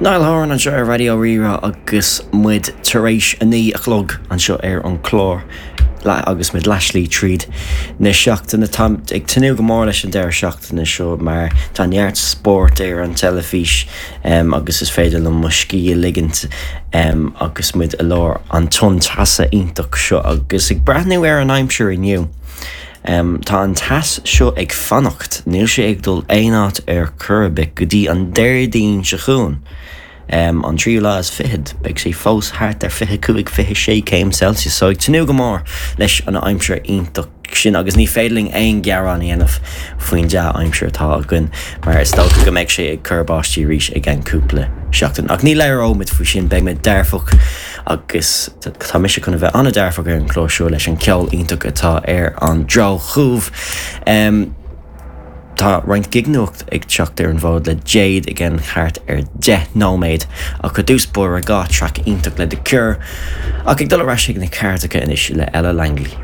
Niall Horan anseo ar Raidió Rí-Rá agus muid tar éis a 9 a chlog anseo ar an chlár agus muid leathshlí tríd na seachtaine. Táim ag tnúth go mór leis an deireadh seachtaine seo mar tá neart spóirt ar an teilifís agus is féidir liom mo scíth a ligint agus muid i lár an tonn teasa iontach seo agus ag breathnú ar an aimsir inniu. Tá an teas seo ag fanacht, níl sé ag dul aon áit ar chor ar bith go dtí an Déardaoin seo chugainn, an tríú lá is fichead. Beidh sé fós thart ar 25, 26 céim Celsius, so ag tnúth go mór leis an aimsir iontach sin agus ní féidir linn aon ghearán a dhéanamh faoin dea-aimsir atá againn mar is dócha go mbeidh sé ag cur báistí arís i gceann cúpla seachtain. Ach ní labhróimid faoi sin, beidh muid dearfach Agus tá mise chun a bheith an-dearfach ar an chlár seo leis an cheol iontach atá ar an drochuair. Tá roinnt gig-nuacht ag teacht ar an bhfód le Jade i gceann thart ar 10 nóiméad ach i dtús báire 2 traic iontach le The Cure ach ag dul ar ais ag na cairteacha anois le Ella Langley.